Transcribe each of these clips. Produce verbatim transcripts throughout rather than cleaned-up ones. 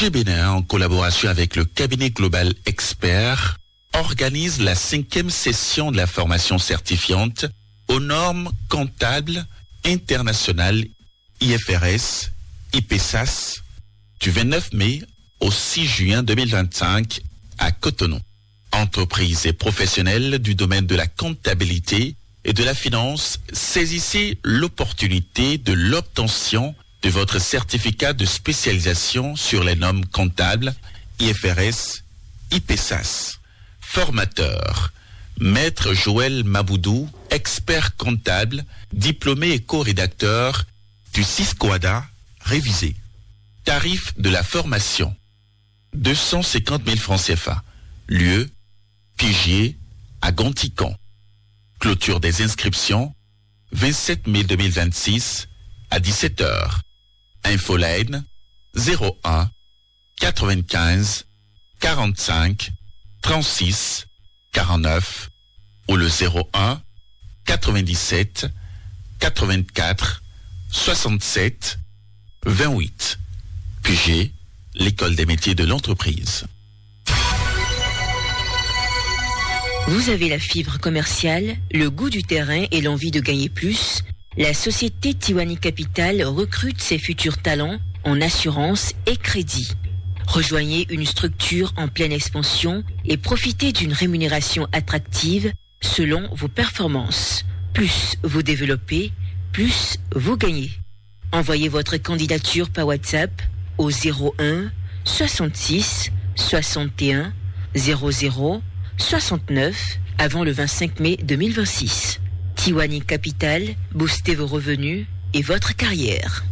L'État du Bénin, en collaboration avec le cabinet Global Expert, organise la cinquième session de la formation certifiante aux normes comptables internationales, I F R S, I P S A S, du vingt-neuf mai au six juin deux mille vingt-cinq à Cotonou. Entreprises et professionnels du domaine de la comptabilité et de la finance, saisissez l'opportunité de l'obtention de votre certificat de spécialisation sur les normes comptables, I F R S, I P S A S. Formateur, Maître Joël Maboudou, expert comptable, diplômé et co-rédacteur du Ciscoada révisé. Tarif de la formation, deux cent cinquante mille francs C F A. Lieu, Pigier, à Gonticon. Clôture des inscriptions, vingt-sept mai deux mille vingt-six, à dix-sept heures. Infoline, zéro un, quatre-vingt-quinze, quarante-cinq, trente-six, quarante-neuf, ou le zéro un, quatre-vingt-dix-sept, quatre-vingt-quatre, soixante-sept, vingt-huit. Q G, l'École des métiers de l'entreprise. Vous avez la fibre commerciale, le goût du terrain et l'envie de gagner plus ? La société Tiwani Capital recrute ses futurs talents en assurance et crédit. Rejoignez une structure en pleine expansion et profitez d'une rémunération attractive selon vos performances. Plus vous développez, plus vous gagnez. Envoyez votre candidature par WhatsApp au zéro un soixante-six soixante et un zéro zéro soixante-neuf avant le vingt-cinq mai deux mille vingt-six. Tiwani Capital, boostez vos revenus et votre carrière.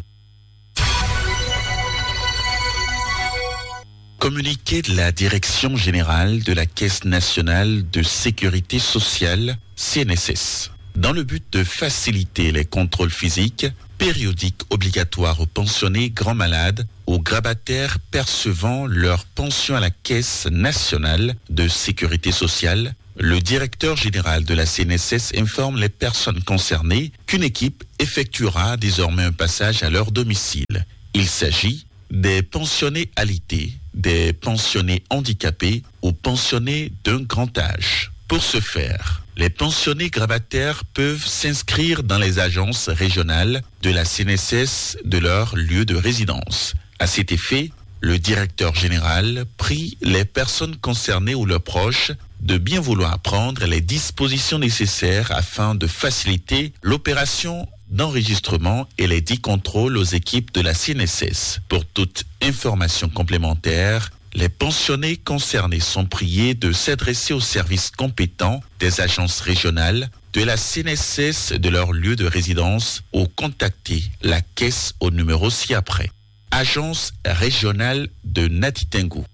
Communiqué de la Direction générale de la Caisse nationale de sécurité sociale, C N S S. Dans le but de faciliter les contrôles physiques périodiques obligatoires aux pensionnés grands malades, aux grabataires percevant leur pension à la Caisse nationale de sécurité sociale, le directeur général de la C N S S informe les personnes concernées qu'une équipe effectuera désormais un passage à leur domicile. Il s'agit des pensionnés alité, des pensionnés handicapés ou pensionnés d'un grand âge. Pour ce faire, les pensionnés grabataires peuvent s'inscrire dans les agences régionales de la C N S S de leur lieu de résidence. À cet effet, le directeur général prie les personnes concernées ou leurs proches de bien vouloir prendre les dispositions nécessaires afin de faciliter l'opération d'enregistrement et les dix contrôles aux équipes de la C N S S. Pour toute information complémentaire, les pensionnés concernés sont priés de s'adresser aux services compétents des agences régionales de la C N S S de leur lieu de résidence ou contacter la caisse au numéro ci-après. Agence régionale de Natitingou,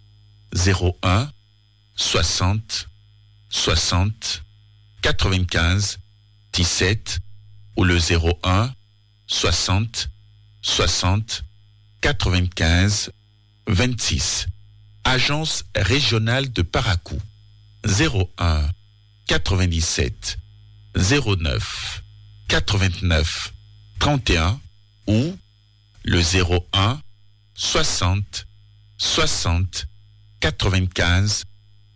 zéro un, soixante, soixante, quatre-vingt-quinze, dix-sept, ou le zéro un, soixante, soixante, quatre-vingt-quinze, vingt-six. Agence régionale de Parakou, zéro un, quatre-vingt-dix-sept, zéro neuf, quatre-vingt-neuf, trente et un, ou le zéro un, soixante, soixante, quatre-vingt-quinze,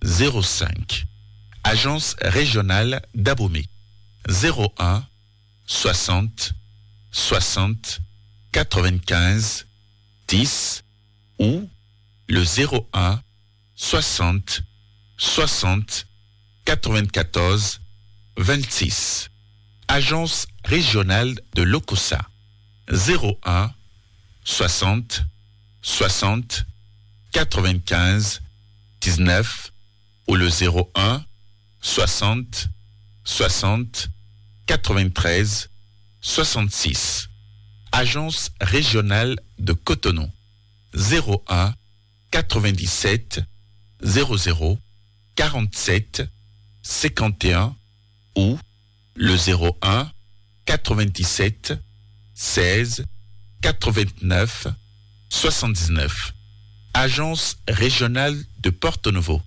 zéro cinq. Agence régionale d'Abomey, zéro un, soixante, soixante, quatre-vingt-quinze, dix, ou le zéro un, soixante, soixante, quatre-vingt-quatorze, vingt-six. Agence régionale de l'OCOSA, zéro un, soixante, soixante, quatre-vingt-quinze, dix-neuf, ou le zéro un, soixante, soixante, quatre-vingt-treize, soixante-six. Agence régionale de Cotonou, zéro un, quatre-vingt-dix-sept, zéro zéro, quarante-sept, cinquante et un, ou le zéro un, quatre-vingt-dix-sept, seize, quatre-vingt-neuf, soixante-dix-neuf. Agence régionale de Porto Novo,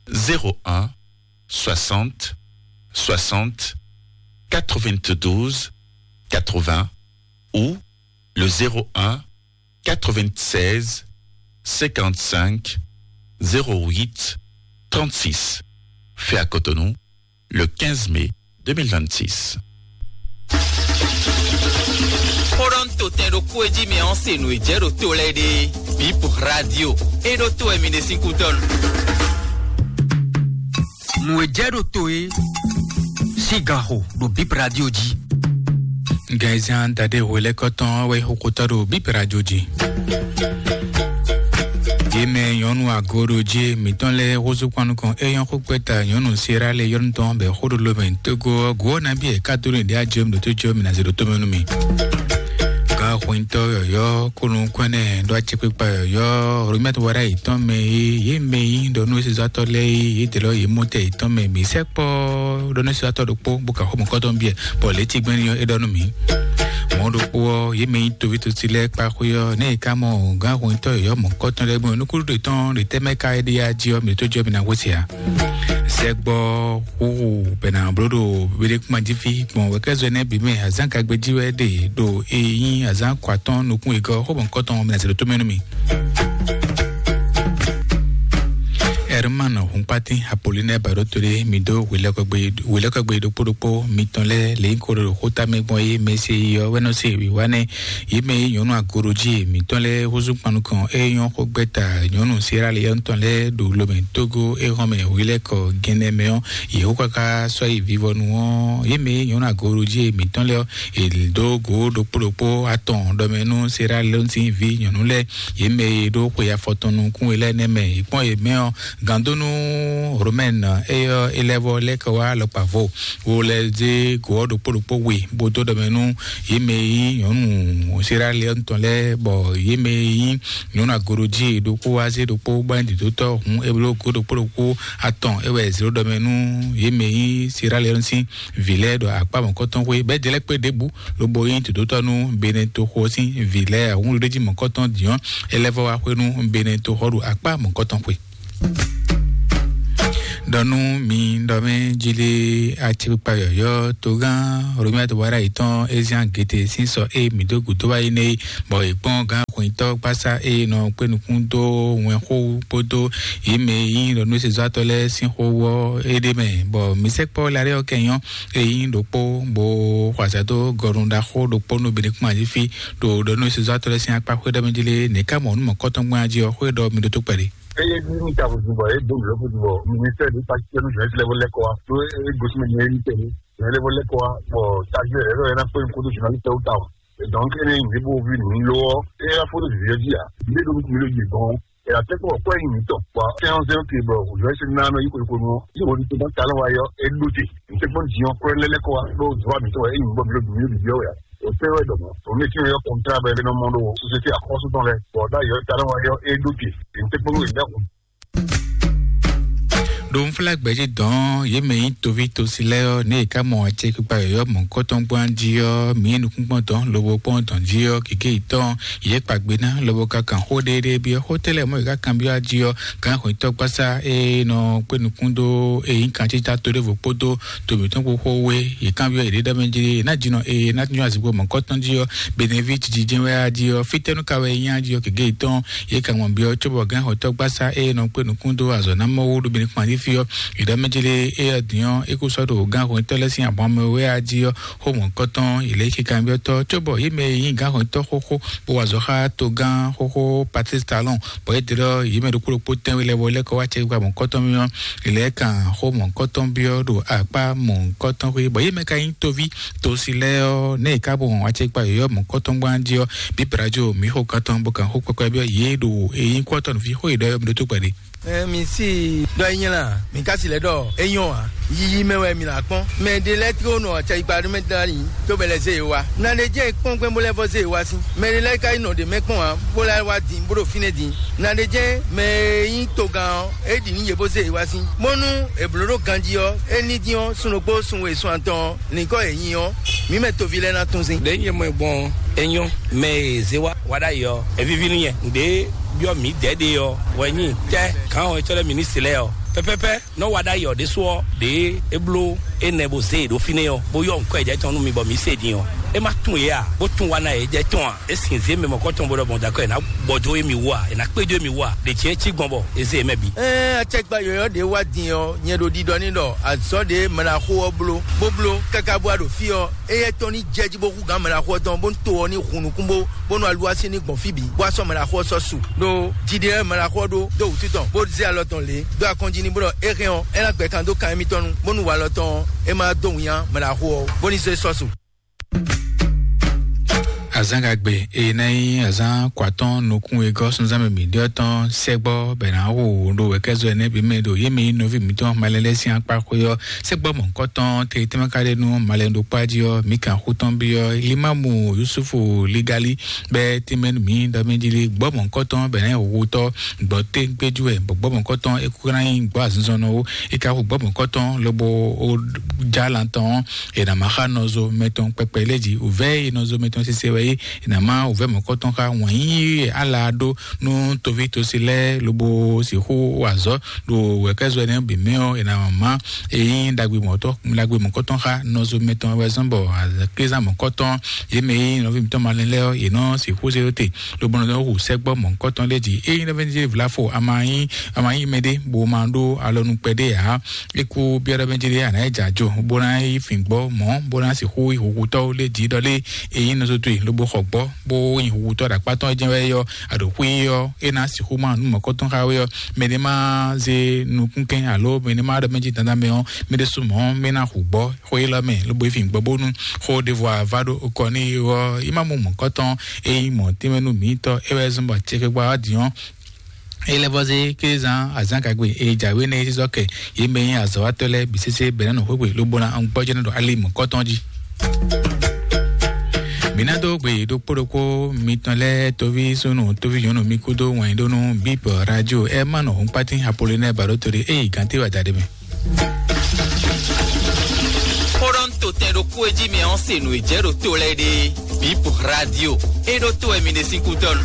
zéro un, soixante, soixante, quatre-vingt-douze, quatre-vingts, ou le zéro un, quatre-vingt-seize, cinquante-cinq zéro huit trente-six. Fait à Cotonou, le quinze mai deux mille vingt-six. Xó ɖɔ nú to tɛn ɖokpó e jí mi ɔ́ se nǔ e jɛ ɖo to lɛ́ɛ ɖe. Bip Radio. É ɖó to wɛ mi ɖe sín kútɔ́ nu. Nǔ e jɛ ɖo to é sín ganxo ɖo Bip Radio jí. Gɛnzan dade hwelɛkɔtɔn wɛ xokotɔ ɖo Bip Radio jí. Yě mɛ nyɔ̌nu agooɖojí mǐtɔn lɛ́ɛ húzú kpɔ́n nukɔn é nyɔ́ xó kpɛ́ta nyɔ̌nu Sierra Leone tɔn bɔ xó ɖo lomɛ Togo ɔ́, gǔ ɔ́ nabí è ká dó nú ɖě ajɔ mi ɖo tó jɔ mi ná zé ɖo tómɛ nú mi. Gǎn xwintɔ́ yɔ̌yɔ́ kónú kɔ́nɛ ɖó acɛkpikpa yɔ̌yɔ́ Romɛt wara yětɔn mɛ é, yě mɛ yí ɖɔ nú sezɔ́tɔ́ lɛ́ɛ é, yě dlɔ́ yě mɔ tɛ yětɔn mɛ mǐ sɛkpɔ́ ɖɔ nú sezɔ́tɔ́ ɖokpó bó ka xó mɔ̌kɔ́tɔn biɛ bɔ lě tigbɛ́n ɔ́ é ɖɔ nú mǐ. Mɔ̌ ɖokpó ɔ́, yě mɛ nyí toví tosí lɛ́ɛ kpa xwé ɔ́, nɛ̌ è ká mɔ gǎn hwɛntɔ́ yɔ̌yɔ́ mɔ̌kɔ́tɔn lɛ́ɛ gbɔn nukúnɖe tɔn ɖe tɛ́ mɛ ka é ɖe yá jí ɔ́, mǐ tó jɔ mǐ ná hwesí ǎ. Sɛgbɔ xúxú bɛ ná bló ɖo Bédékúma jí fí gbɔn wɛ̌kɛ́zɔ énɛ́ bǐ mɛ, azǎn gagbe jí wɛ ɖe ɖo e nyí azǎn kɔ atɔ́ɔ́n nukún wegɔ́ xó mɔ̌kɔ́tɔn mǐ ná se ɖo tómɛ nú mì. Herman Hunkpatin Apollinée Baɖótolé mi dó hwelɛ́kɔgbe hwelɛ́kɔgbe ɖokpó ɖokpó mitɔn lɛ́ɛ lě nyí ko ɖo xóta mɛ gbɔn é mɛ se yi ɔ́ wɛ nɔ se wǐwá nɛ́. Yě mɛ e nyɔ̌nu agorojí mǐtɔn lɛ́ɛ húzú kpan nukɔn é nyɔ́ xó gbɛ́ta nyɔ̌nu Sierra Leone tɔn lɛ́ɛ ɖo lomɛ Togo é hɔn mɛ hwelɛ́kɔ Guinée mɛ ɔ́, yě xó káká sɔ́ yi vivɔnu ɔ́. Yě mɛ e nyɔ̌nu agorojí mǐtɔn lɛ́ɛ ɔ́, è dó gǒ ɖokpó ɖokpó atɔn ɖɔmɛ nú Sierra Leone sín vǐ nyɔ̌nu lɛ́ɛ. Yě mɛ e ɖó xwe afɔtɔn nukún we lɛ́ɛ nɛ́ mɛ è kpɔ́n yě mɛ ɔ́, gǎndónú Romɛn éyɔ́ élɛ́vɔ lɛ́ɛ kɛ wá alɔkpa vo wo lɛ́ zé gǒ ɔ́ ɖokpó ɖokpó we bó dó ɖɔmɛ nú yě mɛ e nyí nyɔ̌nu Sierra Leone tɔn lɛ́ɛ, bɔ yě mɛ e nyí nyɔ̌nu agorojí ɖokpó wá zé ɖokpó bɔ é nyí dǐdótɔ́ hǔn é bló gǒ ɖokpó ɖokpó atɔn é wɛ è zlǒ ɖɔmɛ nú yě mɛ e nyí Sierra Leone sín vǐ lɛ́ɛ ɖo akpá mɔ̌kɔtɔn xwé bɛ́ jɛ lɛ́ kpé ɖěbǔ lobo nyí dǒdótɔ́ nú Benɛtoxo sín vǐ lɛ́ɛ. Ahúnɖóɖéjí mɔ̌kɔtɔn dǐn ɔ́, é lɛ́ vɔ wá xwé nú Benɛtoxo ɖo akpá mɔ̌kɔtɔn xwe. Ɖɔ nú mi ɖɔ mɛ jí lé acékpikpa yɔ̌yɔ́ togán Romia Tobara yětɔn Ezian Gete sín sɔ e mǐ dó gǔdo wá yi nɛ́ é, bɔ è kpɔ́n gǎn xwǐntɔ́ gbásá e nɔ kpé nukún dó wɛnxó kpódó yě mɛ e nyí ɖɔ nú sezɔ́tɔ́ lɛ́ɛ sín xó ɔ́ é ɖ'é mɛ, bɔ mǐ sɛkpɔ́ Larɛ́ ɔ́ kɛ nyɔ́ e nyí ɖokpó bó xɔ azǎn dó gɔnu ɖaxó ɖokpó nú Benɛkúma jí fí ɖo ɖɔ nú sezɔ́tɔ́ lɛ́ɛ sín akpá xwé ɖɔ mɛ jí lé nɛ̌ ká mɔ nǔ mɔ̌kɔtɔn gbɔn jí ɔ́ xwé ɖɔ mi ɖótó kpɛɖé. Eye ní ní ta vodun bɔ eye dó nǔ lɔ vodun bɔ ministère de pasi tɛnu journaliste lɛvɔ lɛkɔ wa to e gosi mɛ nyɛ ní tɛnu journaliste lɛvɔ lɛkɔ wa bɔ taji lɛ lɔ yɛ na kpé nukun to journaliste lɛvɔ ta wa. Donc ene ní bo vi nǔ lo ɔ eye afɔ ɖo vivi ɔdzi a mi ɖo nukun mi ɖo yi gbɔn ɛ la tɛ kpɔ kɔ yi mi tɔ bɔ sɛn ɔn sɛn ke bɔ journaliste na nɔ yi ko ko nɔ yi wo ni to ma talon wa yɔ e ɖo te n tɛ kpɔn diɲɔ kɔ lɛ lɛkɔ wa ɖo zɔ mi tɔ e yi bɔ mi ɖo mi ɖo bibiɔ wɛ o tɛ wɛ dɔmɔ o mi ti yɔ kɔntra bɛ nɔ mɔ ɖo société akɔsu tɔn lɛ bɔ da yɔ talon wa yɔ e ɖo te n tɛ kpɔn wɛ da kun. Ɖo nflá gbɛ̌ jí dɔn yě mɛ nyí toví tosi lɛ́ɛ ɔ́, nɛ̌ è ká mɔ acɛkpikpa yɔ̌yɔ́ mɔ̌hunkɔtɔn gbɔn jí ɔ́, mǐ nyí nukúngbɔ́n dɔn lobo kpɔ́n dɔn jí ɔ́, gěgé yětɔn yě kpa gbe ná lobo ka kan xó ɖéɖéé byɔ́ xó tɛ́ lɛ́ɛ mɔ̌ yě ká kanbyɔ́ jí ɔ́, gǎn xwǐntɔ́ gbásá e nɔ kpé nukún dó e nyí kancíta to ɖěvo kpódó to mǐtɔn kpó xó we, yě kanbyɔ́ yěɖée ɖɔ mɛ jí ná jínɔ e ná nyɔ́ azǐngbó mɔ̌hunkɔtɔn jí ɔ́, Benevi jijɛ wɛ á jí ɔ́, fítɛ́nú ka wɛ é nyí á jí ɔ́, gěgé yětɔn yě ka mɔ byɔ́ cóbɔ gǎn xwǐntɔ́ gbásá e nɔ kpé nukún dó azɔ̌ ná mɔ wú ɖo Benevi kpan jí fí ɔ́, yě ɖɔ mɛ jí lé é ɔ́ din ɔ́, é kó sɔ́ ɖo gǎn xwǐntɔ́ lɛ́ɛ sín ahwan mɛ wɛ á jí ɔ́, xó mɔ̌hunkɔtɔn yě lɛ́ cí kanbyɔ́tɔ́ cóbɔ yě mɛ e nyí gǎn xwǐntɔ́ xóxó bó wa azɔ̌ xá togán xóxó Patrice Talon, bɔ é dlɔ́ yě mɛ ɖokpó ɖokpó tɛ́nwe lɛ́ɛ bɔ é lɛ́ kɔ wá acɛkpikpa mɔ̌hunkɔtɔn mɛ ɔ́, yě lɛ́ kan xó mɔ̌hunkɔtɔn byɔ́ ɖo akpá mɔ̌hunkɔtɔn xwé, bɔ yě mɛ ka nyí toví tosi lɛ́ɛ ɔ́, nɛ́ è ká bɔ acɛkpikpa yɔ̌yɔ́ mɔ̌hunkɔtɔn gbɔn jí ɔ́, bí Brajo mǐ xo kantɔn bó kan xó kpɛkpɛ byɔ́ yě ɖo e nyí kú ɔ́ tɔn nǔví xó yě ɖɔ ɔ́ mi ɖótó kpɛɖé. Ɛ mi si dɔ e nyɛ la mi ka si lɛ dɔ e nyɔ a yiyi mɛ wɛ mi la kpɔn mɛ de lɛ tiko nɔ acayikpa ɖo mɛ da yi to bɛ lɛ ze wa na de jɛ kpɔn gbɛn bo lɛ vɔ ze wa si mɛ de lɛ ka yi nɔ de mɛ kpɔn a bo la wa din bo ɖo fine din na de jɛ mɛ yi to gan ɔ e di ni ye bo ze wa si bonu e blo ɖo ganji ɔ e ni din ɔ sun ɖokpo sun we sun atɔn ɔ ni kɔ e nyi ɔ mi mɛ tovi lɛ na tun zin. Ɖe nyɛ mɔ gbɔn enyɔ mɛ e ze wa wa ɖa yi ɔ evivi ni nyɛ ɖe byɔ mi dɛ ɖe ɔ wɛ nyi tɛ kan ɔ etsɔ lɛ ministre lɛ ɔ pɛpɛpɛ nɔ wa ɖa yi ɔ ɖesu ɔ ɖe eblo enɛ bo ze ɖo fine ɔ bo yɔ nkɔ ɛjɛ tɔn nu mi bɔ mi se din ɔ E ma tún yě a, bó tún wa ná yě jɛ tɔn a? E sin zé mɛ mɔkɔtɔn bó ɖɔ bɔn dakɔ, e na gbɔdo emi wú a, e na kpédo emi wú a? Ɖe tiɛ cí gbɔn bɔ e zé mɛ bi. Ɛɛ, acɛkpa yɔyɔ ɖe wá din ɔ, nyɛ ɖo ɖiɖɔ ní ɖɔ azɔ̌ ɖe mɛɖaxó ɔ́ bló, bó bló káká bó wá ɖo fí ɔ́, éyɛ́ tɔn ní jɛ jí bó hú gǎn mɛɖaxó ɔ́ tɔn, bó ní to ɔ́ ní hun nukún bó, bó nɔ alu así ní gbɔn fí bǐ, bó wá sɔ́ mɛɖaxó ɔ́ sɔ́ su. Ɖó jiɖe ɔ́ mɛɖaxó ɔ́ ɖó dó wǔtu tɔn, bó zé alɔ tɔn lě dó akɔnjí ní bó ɖɔ é hɛn ɔ́, é ná gbɛ kan dó kan émítɔn nu, bónú walɔ tɔn ɔ́, é má dó winnyá mɛɖaxó ɔ́, bó ní zé sɔ́ su. Azán gagbe e ná nyí azán kɔ atɔ́n nukún e gɔ́ sunzán mɛ mǐ ɖe ɔ́ tɔn sɛgbɔ bɛ ná hu ɖo wɛkɛzɔ ɛnɛ bǐ mɛ ɖo yě mɛ nyí nɔví mǐtɔn malɛ lɛ́ɛ sín akpá xwé ɔ́. Sɛgbɔ mɔ̌hunkɔtɔn te tɛ́nmɛ ka ɖe nú malɛ ɖokpá jí ɔ́, mǐ kan xú tɔn byɔ́ Limamu Yusufu Ligali bɛ tɛ́nmɛ nú mǐ ɖɔ mɛ jí lé gbɔ mɔ̌hunkɔtɔn bɛ ná nyí hutɔ́ gbɔ tɛ́ngbéjú wɛ, bɔ gbɔ mɔ̌hunkɔtɔn é kú ná nyí gbɔ azinzɔnnɔ ó. É ka hu gbɔ mɔ̌hunkɔtɔn lobo ó já lan tɔn ɔ́, è nǎ má xa nɔzo mɛtɔn kpɛkpɛ lé jí. Wǔvɛ́ e nɔzo mɛtɔn sise wɛ é, è nǎ má wǔvɛ́ mɔ̌kɔtɔn xá wǎn yíyí e Ala ɖó nú toví tosi lɛ́ɛ lobo sixú wa azɔ̌ ɖo wɛ̌kɛ́zɔ énɛ́ bǐ mɛ ɔ́, è nǎ má e nyí ɖagbe mɔ̌kɔtɔn xá nɔzo mɛtɔn wɛ zɔ́n bɔ aklezán mɔ̌kɔtɔn yě mɛ e nyí nɔví mǐtɔn malɛ lɛ́ɛ ɔ́, yě nɔ sixú zé dó te lobo nɔ hu sɛ́gbɔ́ mɔ̌kɔtɔn lé jí. Ényí nɔví vlafo a ma nyí a ma nyí mɛɖé bó ma ɖó alɔnu kpɛɖé ǎ, é kú byɔ́ɖɔ mɛ jí ɖé a nǎ yi jɛ ajo bó ná yi fin gbɔ mɔ̌ bó ná sixú yi húhútɔ́ lé jí ɖɔ lé e nyí nɔzo towe lobo xɔ gbɔ bó nyi húhútɔ́ ɖo akpá tɔn jɛ́n wɛ ɔ́, aɖǒ xwí ɔ́ é ná sixú má nú mɔ̌kɔtɔn xá wé ɔ́. Mɛ ɖé má zé nukúnkɛn alo mɛ ɖé má ɖɔ mɛ jí dandan mɛ ɔ́, mɛ ɖé sú mɔ̌ mɛ ná hu gbɔ xó élɔ́ mɛ lobo yi fin gbɔ bónú xó ɖěvo a vá ɖó kɔ n'i ɔ́, yi má mɔ mɔ̌kɔtɔn e nyí mɔ̌ tɛ́nmɛ nú mǐtɔn é wɛ zɔ́n bɔ acɛkpikpa ɔ́ din ɔ́. Ele vɔ zé kézan azán gagbe e jǎwe nɛ sísɔ kɛ yě mɛ nyí azɔ̌watɔ́ lɛ́ɛ bǐ sésé bɛ̌ ná nɔ xwéxwe lobo ná gbɔjɛ́ ná ɖo ali mɔ̌kɔtɔn jí. Mǐ ná dó gbe ɖokpó ɖokpó mitɔn lɛ́ɛ, toví súnnu toví nyɔ̌nu mi kúdó wɛn ɖó nú bíp radio ɛ má nɔ hɔnkpátín Apolinɛ́ɛ Baɖótoli e yi gǎnté wa da ɖé mɛ. Xó ɖɔ ń to tɛn ɖokpó e jí mɛ ɔ́ se nǔ e jɛ ɖo to lɛ́ɛ ɖe. Bíp radio é ɖó to wɛ mi ɖe sín kúdɔ́ nu.